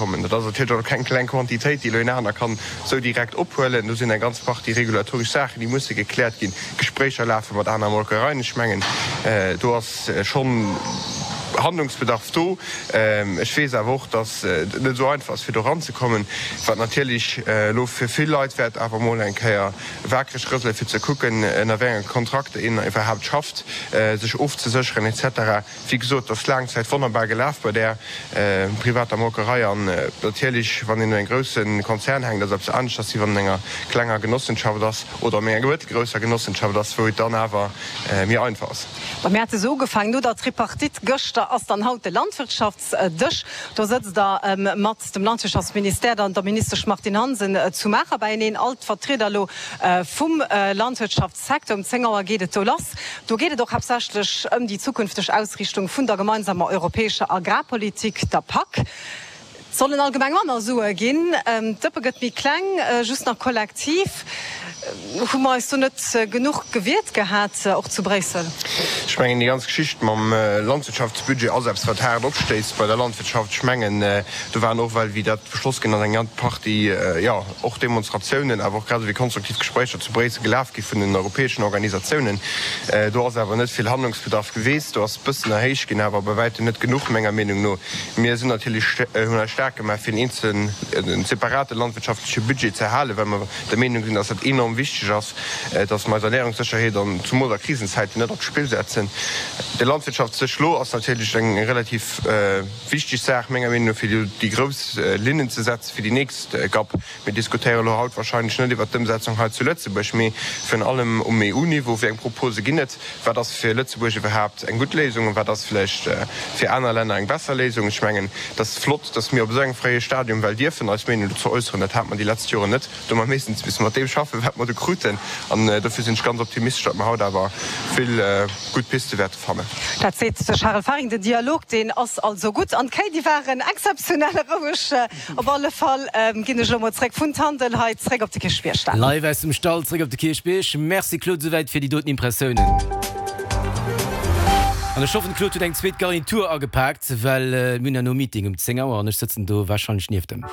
kommen. Dat ass natierlech och keng kleng Quantitéit, déi elo een aner kann esou direkt ophuelen. Do sinn eng ganz Partie regulatoresch Saachen, déi musse gekläert ginn. Gespréicher lafe mat aner Molkereien. Ech mengen, do ass schonn Handlungsbedarf do. Ech weess awer och, datt et net esou einfach ass, fir do eranzekommen, wat natierlech elo fir vill Leit wäert awer emol eng Kéier wakereg rëselen, fir ze kucken, ënner wéi enge Kontrakter een iwwerhaapt schafft, sech ofzesécheren et cetera. Wéi gesot, et ass laang Zäit wonnerbar gelaf bei där privater Molkerei. An natierlech, wann een un engem grousse Konzern hänkt, ass et eppes aneschters, wéi wann een an enger klenger Genossenschaft ass oder an enger mëttelgrousser Genossenschaft ass, wou et dann awer méi einfach ass. Bon, mir hate se ugefaangen no der Tripartite gëschter, ass dann haut de Landwirtschaftsdësch. Do sëtzt Der mat dem Landwirtschaftsministère, der der Ministesch Martine Hansen zu Maacher beieneen, all d'Vertrieder elo vum Landwirtschaftssecteur. Um 10 Auer geet et do lass. Do geet et och haaptsächlech ëm déi zukünfteg Ausriichtung vun der gemeinsamer europäescher Agrarpolitik, der PAC. Et sollen allgemeng manner Sue ginn, d'Dëppe gëtt méi kleng, just nach kollektiv. Hu mer eis do net genuch gewiert gehat, och zu Bréissel? Ech mengen, déi ganz Geschicht mam Landwirtschaftsbudget ass eppes, wat haart opstéisst bei der Landwirtschaft. Ech mengen, do waren och, well wéi dat beschloss ginn ass, eng ganz Partie, jo, och Demonstratiounen, awer och grad esou wéi konstruktiv Gespréicher zu Bréissel gelaf gi vun den europäeschen Organisatiounen. Do ass awer net vill Handlungsbedarf geweest. Do ass e bëssen erhéicht ginn, awer bei wäitem net genuch, menger Meenung no. Mir sinn natierlech, hunn eis staark gemaach, fir en eenzelen, en separate landwirtschaftleche Budget ze erhalen, well mer der Meenung sinn, dass dat enorm wichteg ass, dass mer eis Ernährungssécherheet an zumools a Krisenzäiten net op d'Spill setzen. De Landwirtschaftsdësch elo ass natierlech eng relativ wichteg Saach, menger Meenung no, fir déi grouss Linnen ze setzen fir déi nächst GAP. Mir diskutéiere elo haut wahrscheinlech net iwwert d'Ëmsetzung hei zu Lëtzebuerg, mee virun allem um EU-Niveau. Wéi eng Propose ginn et? Wat ass fir Lëtzebuerg iwwerhaapt eng gutt Léisung an wat ass vläicht fir aner Länner eng besser Léisung? Ech mengen, et ass flott, datt mir op esou engem fréie Stadium well dierfen eis Meenung dozou äusseren. Dat hate mer déi letzt Joren net. Do hu mer meeschtens misse mat deem schaffen, wat mer do kruten. An dofir sinn ech ganz optimistesch, datt mer haut awer vill gutt Piste wäerte fannen. Dat seet de Charel Faring. Den Dialog, deen ass also gutt. An d'Kéi, déi waren exzeptionell roueg. Op alle Fall ginn ech elo mol zréck vun Tandel hei zréck op de Kierchbierg. Live aus dem Stall zréck op de Kierchbierg. Merci Claude souwäit fir déi doten Impressiounen. An ech hoffen de Claude huet eng zweet Garnitur agepaakt, well mir hunn herno Meeting um 10 Auer an ech sëtzen do warscheinlech nieft em.